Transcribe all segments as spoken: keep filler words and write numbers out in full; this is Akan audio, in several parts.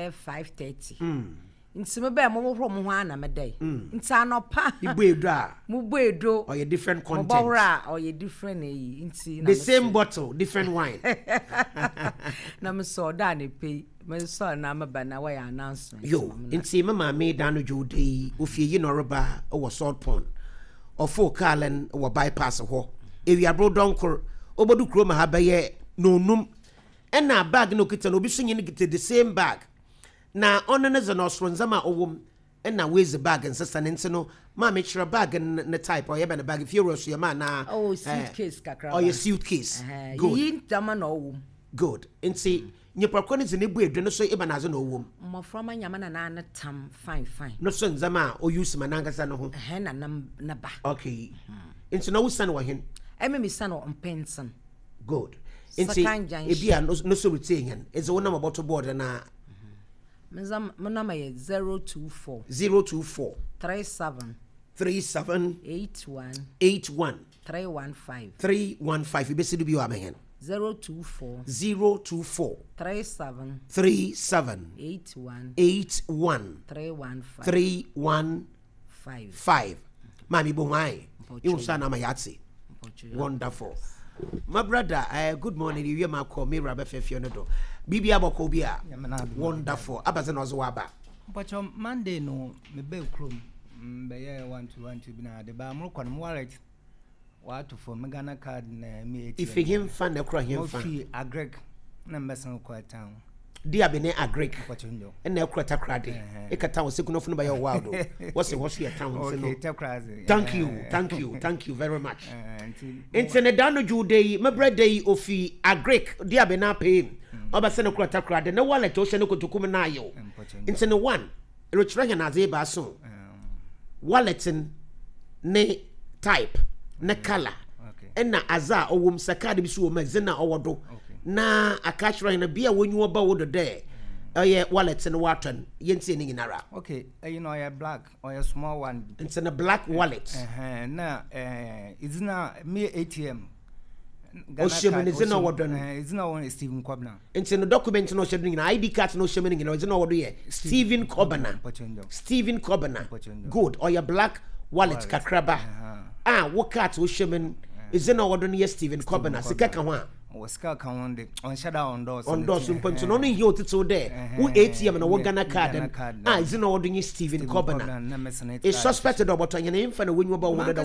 Bɛyɛ five thirty. Nti me bɛɛ mo hohoro mo ho ana me dɛ. Nti anɔpa. Ibu edo a. Mo bu edo. Ɔyɛ different content. Mo bɔhoro a ɔyɛ different eyi nti. The same bottle, different wine. Na me sɔ ɔda ne pe. Me sɔ na me ba na wɔyɛ announcement. Yo, nti me maame da no dwo de ofie yi na ɔreba wɔ Salt Pond. Ɔfo Carlin wɔ bypass hɔ. Ewiabro donkor obodu kuro ma ha bɛyɛ nonum. Ɛna bag no kita no obi so nyi no the same bag. Na ɔno ne ze na ɔsoro nzama ɔwom ɛna wezi bag nsesa ne nti no maame kyerɛ bag ne type ɔyɛ bɛ ne bag fie wɔ so yɛ ma na oh suitcase kakra. Ɔyɛ suitcase. Good. Yi ntama na ɔwom. Good. Nti nyimpa kɔ ne ze ne bu edwe no so eba na ze na ɔwom. Mmɔfra ma nyama na na tam fine fine. No so nzama a ɔuse ma nankasa no ho. Ɛhɛ na nam na ba. Okay. Nti na wo san wɔ hen? Ɛmɛ mi san wɔ mpɛnsen. Good. Nti ebi a no so retain hen. Eze wo na mɔbɔto board na My number is zero two four zero two four three seven three seven eight one eight one three one five three one five. You basically be your man. zero two four zero two four three seven three seven eight one eight one three one five three one five five. Mami bo why? You son ama yatsi. Wonderful. My brother, uh, good morning. You hear my call me Rabbi Fefionodo. Bibi Abokobia. Wonderful. Abazen Ozuaba. But on Monday, no, me be chrome. Be one two one two bina the bar more con wallet. What for me Ghana card me? If him fan the crow him fan. Agrek, number some quite town. Dear Bene Agrek, and now Cratakrade. Ekata was sick enough by your wild. What's the what's your town? Okay, thank you, thank you, thank you very much. Intene Ju day, my bread day ofi Agrek, dear Bena pay. Obaseno Cratakrade, no wallet, Ocean Kutukumenayo. Intene one, Richrahan Azeba so. Walletin ne type, ne color, and na aza or wom sakadi bisu mezina or wado. Na akashra na bia when you about there. Oh yeah, wallet and water. Yensi ni nara. Okay, you know a black or a small one. It's in a black wallet. Uh na eh it's na me A T M. Oshemu is no what done. It's not one Stephen Kobna. It's in the document no shedling I D card no sheming no it's no what Stephen Kobna. Stephen Kobna. Good. Or your black wallet kakraba. Ah, what card oshemin is no what done Stephen Kobna. Sika one. Oscar can on shadow on doors on doors on point. No, you to there. Who A T M and one Ghana card. Ah, is no ordering Stephen Kobna. Is suspected about an infant when you about one other.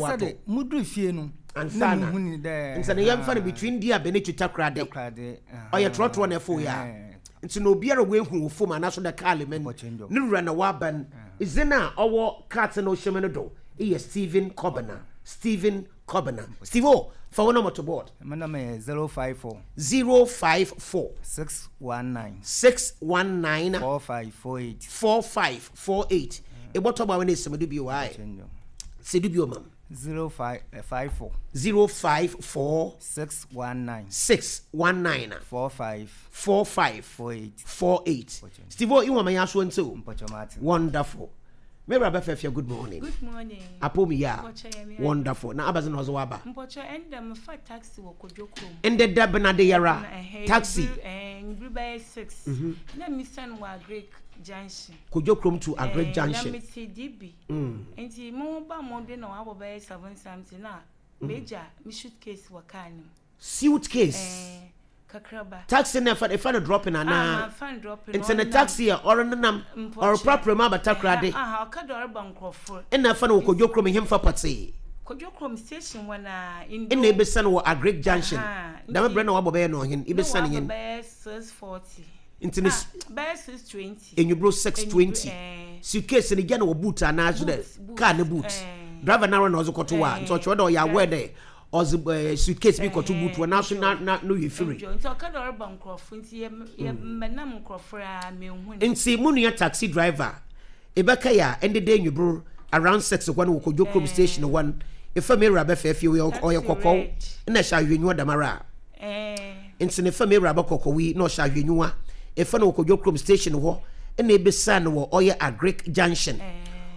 Mudru Fienu and Sana and Sana young fan between dear Benito Takrade or your trot one F O ya. It's no beer away who form and national parliament. No run a waban is in our cards and ocean. He is Stephen Kobna. Stephen Kobna. Steve O, for one number to board. My number is zero five four zero five four six one nine six one nine four five four eight four five four eight. E what about when it's somebody be why? Say do be ma'am. Zero five five four zero five four six one nine six one nine four five four five four eight four eight. Steve O, you want my ass one too? Wonderful. Mary Abefefia, good morning. Good morning. Apomi ya. Wonderful. Na abazen ozo aba. Mpocho enda me fa taxi wo Kodwokrom. Ende da bena de yara. Taxi. Eh, ngru by six. Na mi san wa Agric Junction. Kodwokrom to Agric Junction. Na me ti D B. Enti mo ba mo de na wa bo by seven something na major mi suitcase wa car ni. Suitcase. Eh. Kakraba. Taxi na fa fa no dropping ana. Ah, fa dropping. Nti na taxi or nanam or proper ma batakrade. Ah, ah, ka do ba nkrofo. Ena fa no Kodwokrom hemfa pate. Kodwokrom station wana in. Ena ebesa no Agric Junction. Da me bre na wabo be no hin. Ebesa ne hin. Be six forty. Nti ne be six twenty. Enwubro six twenty. Suitcase ni gya na wo boot ana so de car ne boot. Driver na na ozo koto wa. Nti o chwo do ya aware there. Oz suitcase bi koto boot wa na so na na no ye free. Nti o ka do ba nkrofo nti ye menam nkrofo a me hu. Nti munua taxi driver ebeka ya ende de nwubro around six one wo Kodwokrom station one. Ifa me ra be fefi o ye kokko na sha hwenyu damara. Eh. Nti ne fa me ra be kokko wi na sha hwenyu a. Ifa no Kodwokrom station ho na ebesa no wo oye Agric Junction.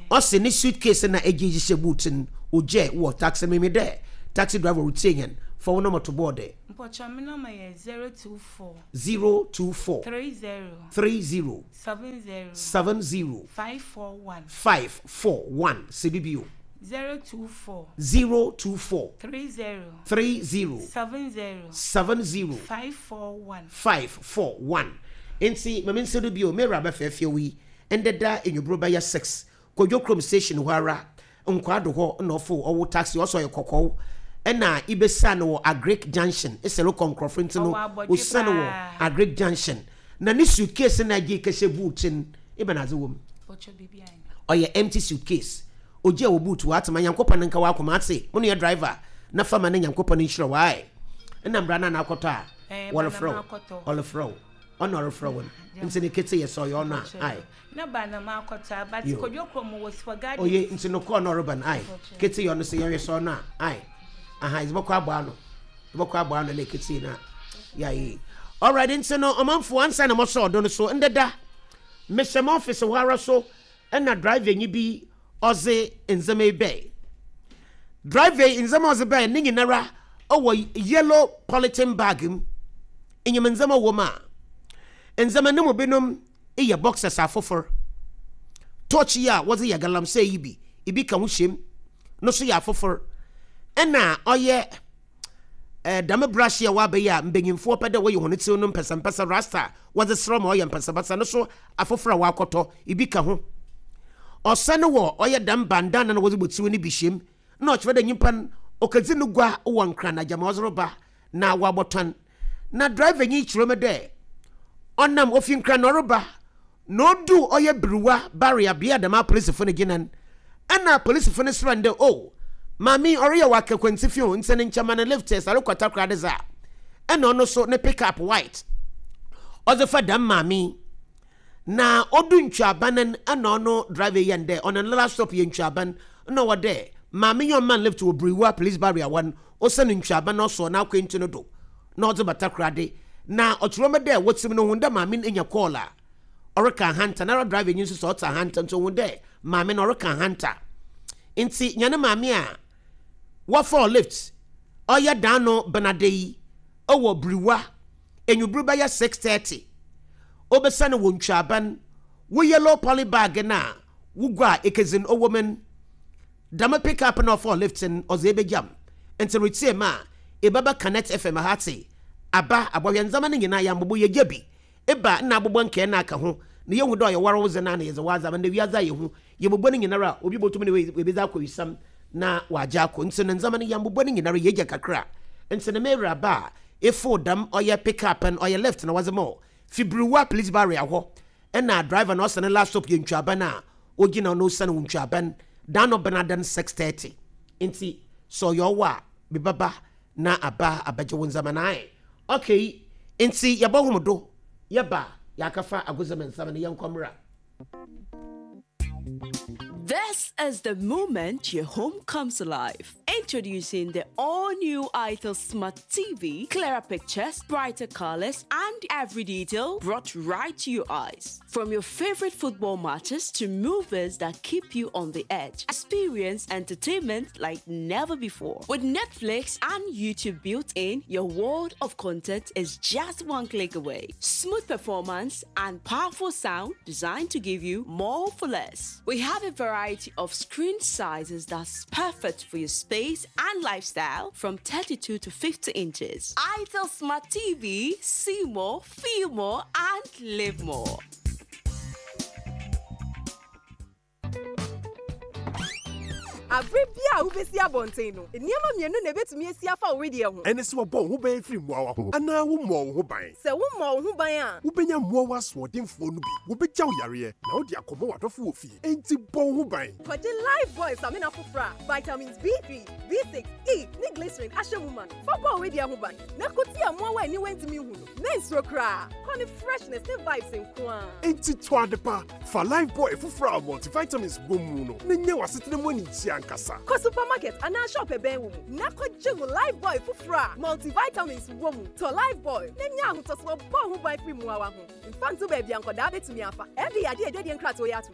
O se ne suitcase na eji hye boot n oje wo taxi me me there. Taxi driver routine for one number to board there. Mpɔtɔ mi nɔma yɛ zero two four. Zero two four. Three zero. Three zero. Seven zero. Seven zero. Five four one. Five four one. C D B O. Zero two four. Zero two four. Three zero. Three zero. Seven zero. Seven zero. Five four one. Five four one. Nti maame nsa do bio mewura bɛfɛɛfɛ wi ndeda enyobro bɛyɛ six Kodwo Kurom station hɔ ara Nkwado hɔ na ɔfo ɔwɔ taxi ɔsɔ yɛ kɔkɔɔ ɛna ibesa no wɔ Agric Junction ɛsɛ rekɔ nkorɔfo nti no Ɔwɔ abɔdwe osa no wɔ paa. Agric Junction na ne suitcase na agye kɛhyɛ boot no ibɛn adze wɔ mu? Mpɔtɔ biribi ayɛ. Ɔyɛ empty suitcase ogye a wɔ boot wɔ atema. Nyankopɔn ne nka wɔ akoma ate mo ne yɛ driver na fama ne Nyankopɔn ne nhyira wae ɛna mbra na nakɔtɔ a Eh, wɔrefrɛ ba na wo. makɔtɔ. Ɔrefrɛ wo, ɔna ɔrefrɛ wo no nti ne kete yɛ sɛ ɔyɛ ɔno a ae. Na ba na makɔtɔ a, but Yo. Kodwo Kurom wɔ Super Garden. Oye, nti no kɔɔ na ɔreba no ae kete yɛ ɔno sɛ yɛhwɛ sɛ ɔno a ae aha yɛbɛkɔ abɔ ano, yɛbɛkɔ abɔ ano na kete na yɛayɛ. Alright, nti no ɔmanfoɔ ansa na mɔsɔ ɔdo no so ndeda mehyɛ m office hɔ ara so ɛna driver nyi bi ɔdze ndzɛmba yi bɛɛ. Driver yi ndzɛmba a ɔdze bɛɛ ne nyinara ɔwɔ yellow polythene bag mu. Enyim ndzɛmba wɔ mu a ndzɛmba no mu binom yɛ boxers afofor, torch yi a wɔdze yɛ galamsey yi bi ebi ka ho hyɛm no so yɛ afofor, ɛna ɔyɛ ɛɛ dame brush yi a waba yi a mbanyinfoɔ pɛ dɛ wɔyɛ wɔn ti no mpɛsɛmpɛsɛ rasta wɔdze serɛ ma ɔyɛ mpɛsɛmpɛsɛ no so afofor a wakɔtɔ ebi ka ho. Ɔsɛ no wɔ ɔyɛ dam bandana na wɔdze bɔ tiw no bi hyɛm na ɔkyerɛ dɛ nyimpa no ɔkadzi no gua wɔ Nkran na gyama ɔdze reba na wabɔtɔn. Na driver nyi kyerɛ mu dɛ ɔnam ofi Nkran na ɔreba na odu ɔyɛ Biriwa barrier bea dɛm apolisifo no gyina no ɛna apolisifo no srɛ no dɛ o maame ɔreyɛ wɔ akakwantifi o nti ne nkyɛma no lift sare kɔta koraa de dza ɛna ɔno so ne pick up white ɔdze fa dɛm maame na odu ntwaban no ɛna ɔno driver yɛn dɛ ɔno ne last stop yɛ Ntwaban ɛna ɔwɔ dɛ maame yɛ ɔman lift wɔ Biriwa police barrier wɔn ɔsɛ ntwaban na ɔsɔ n'akwantu no do na ɔdze bata korade na ɔkyerɛ mu dɛ wɔtim no ho dɛ maame no anya call a ɔreka ahanta na driver nyi nso sɛ ɔte ahanta nso ohun dɛ maame no ɔreka ahanta nti nyane maame a wɔfɔ lift ɔyɛ dan no benade yi ɔwɔ Biriwa enyuburu bɛyɛ six thirty obesa no wɔ Ntwaban wo yellow poly bag na wugua a ekezin ɔwɔ mu no dama pick up na ɔfɔ lift no ɔdze ebegyam nti retie mu a ebɛba Connect F M ha te aba abɔhwɛ ndzɛmba no nyinaa yɛambobɔ yɛgya bi eba na abobɔ nkɛɛ na aka ho na yɛhu dɛ ɔyɛ ware wo dze na na yɛdze wadze ama na wiadze a yɛhu yɛbobɔ no nyinara a obi bɔtum ne webɛdze akɔ wisam na wagye akɔ nti no ndzɛmba no yɛambobɔ no nyinara yɛgya kakra nti no mewura ba a efo dam ɔyɛ pick up no ɔyɛ lift na wɔdze ma wo fi Biriwa police barrier hɔ ɛna driver na ɔsɛ ne last stop yɛ Ntwaban a ogyina no ɔsɛ no Ntwaban dan no benadan six thirty nti sɛ ɔyɛ ɔwɔ a bibaba na aba abɛgye wo ndzɛmba na ayɛ okay. Nti yɛbɔ hom do yɛba yɛakafa agodzɛmɛ nsɛm no yɛnkɔ mmra. This is the moment your home comes alive. Introducing the all-new Itel Smart T V. Clearer pictures, brighter colors, and every detail brought right to your eyes. From your favorite football matches to movies that keep you on the edge, experience entertainment like never before. With Netflix and YouTube built in, your world of content is just one click away. Smooth performance and powerful sound designed to give you more for less. We have a variety of screen sizes that's perfect for your space and lifestyle from thirty-two to fifty inches. Itel Smart T V, see more, feel more, and live more. Abere bi a wobɛsi abɔnten no nneɛma mmienu na ebetumi esi afa wo wedeɛ ho. Ɛne sɛ wɔbɔ wo ho ban firi mmoawa ho anaa wommɔ wo ho ban. Sɛ wommɔ wo ho ban a, wobɛnya mmoawa asoɔdenfoɔ no bi wobɛgya wo yareɛ na wode akɔmmɔ w'adɔfo wɔ fie enti bɔ wo ho ban. Kɔgye Lifebuoy samina foforɔ a vitamins B three, B six, E ne glycerin ahyɛ mu ma no fa bɔ wo wedeɛ ho ban na ko tia mmoawa a aniwa ntumi nhu no mensuro koraa kɔ ne freshness ne vibes nko a. Enti tɔ ade pa fa Lifebuoy foforɔ a multivitamins wɔ mu no na nya w'asetena mu anigye ankasa. Kɔ supermarket anaa shop ɛbɛn wo mu na kɔgye wo Lifebuoy foforɔ a multivitamins wɔ mu. Tɔ Lifebuoy na nya ahotɔsoɔ bɔ wo ho ban firi mmoawa ho mfa nto baabi a nkɔdaa bɛtumi afa ɛde yadeɛ adwadie nkratoɔ yɛ ato.